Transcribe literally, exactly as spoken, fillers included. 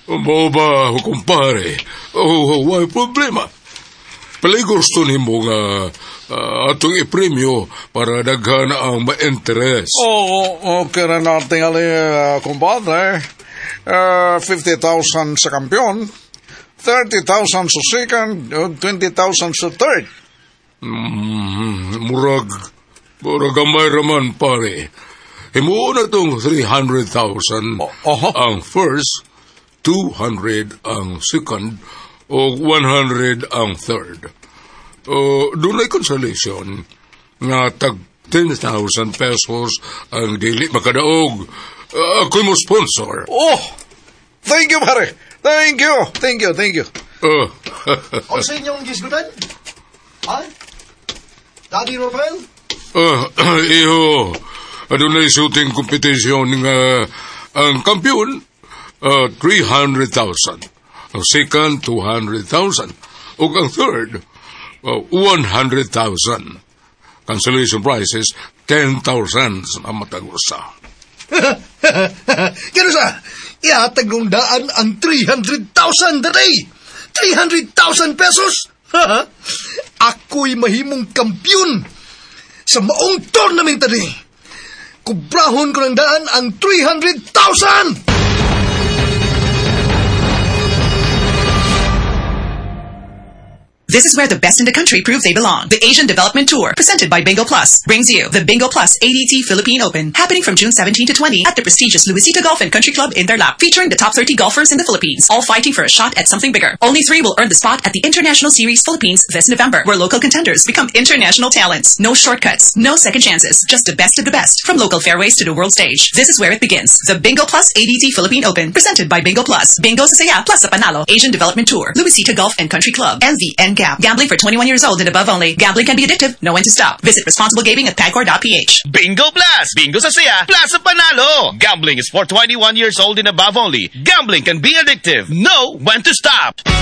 Mao ba, kumpare? Oh, way problema. Pilay gusto nimo nga ah, atong ipremyo para daghan ang ma-interest. Oh, okay na natin ali, uh, kumpadre. Uh, fifty thousand sa kampiyon, thirty thousand sa second, uh, twenty thousand sa third. Mm, murag, murag gamay raman, pare. Himuon na tong three hundred thousand Oho. ang first, two hundred ang second, o one hundred ang third. O, dunay consolation nga tag ten thousand pesos ang dili makadaog. Uh, ako'y mo sponsor. Oh, thank you, pare. Thank you, thank you, thank you. Uh, Unsa inyong gisgutan? Ha? Daddy Rafael? Uh, iho, adunay shooting competition nga ang kampiyon, uh, three hundred thousand. Ang second, two hundred thousand. Ug ang third, uh, one hundred thousand. Consolation prizes, ten thousand sa matag usa. Kano sa, ihatag kong daan ang three hundred thousand today! three hundred thousand pesos! Ako'y mahimong kampiyon sa maong tournament today! Kubrahon ko ng daan ang three hundred thousand! This is where the best in the country prove they belong. The Asian Development Tour, presented by Bingo Plus, brings you the Bingo Plus A D T Philippine Open, happening from June seventeen to twenty at the prestigious Luisita Golf and Country Club in Tarlac, featuring the top thirty golfers in the Philippines, all fighting for a shot at something bigger. Only three will earn the spot at the International Series Philippines this November, where local contenders become international talents. No shortcuts, no second chances, just the best of the best, from local fairways to the world stage. This is where it begins. The Bingo Plus A D T Philippine Open, presented by Bingo Plus. Bingo sa saya, plus sa panalo. Asian Development Tour, Luisita Golf and Country Club, and the N GAP. Gambling for twenty-one years old and above only. Gambling can be addictive. Know when to stop. Visit responsible gaming at pagcor dot P H. Bingo Plus! Bingo sa saya, plus sa panalo! Gambling is for twenty-one years old and above only. Gambling can be addictive. Know when to stop.